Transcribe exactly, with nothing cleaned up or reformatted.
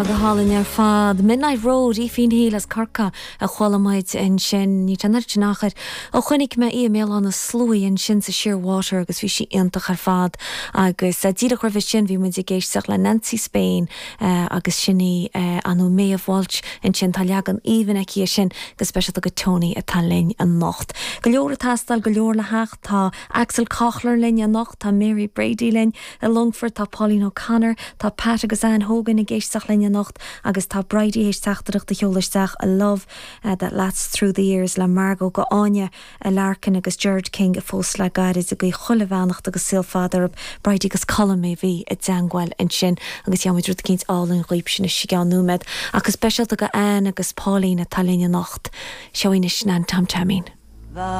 Go hálainn ar fad. Midnight Road Aoifín Hill as Corcaigh a chuala muid ansin ní sin achar ó chonaic mé í i mBéal Átha na Sluaighe ansin sa Shearwater agus bhí sí iontach ar fad agus díreach roimhe sin bhí muid ag éisteacht le Nancy Spain uh, agus sin í uh, anú Méabh Walsh ansin tá leagan aoibhinn aici sin go speisialta go Tony atá linn anocht. Go leor ag teastáil go leor le theacht tá Axel Kochler linn anocht tá Mary Brady linn i Longfort tá Pauline O'Connor tá Pat agus Ann Hogan ag éisteacht linn anocht agus tá Bridie théis teachtaireacht a sheoladh isteach a love uh, that lasts through the years le Margot go Áine a Larkin agus Gerard King a phós le gairid ag guí chuile bheannacht agus saol fada orthu Bridie agus Colm a bhí i dteagmháil ansin agus gheobhaidh rud eicínt álainn dhaoibh sin i gceann nóiméad agus speisialta go Ann agus Pauline atá linn anocht seo anois Nan Tom Taimín.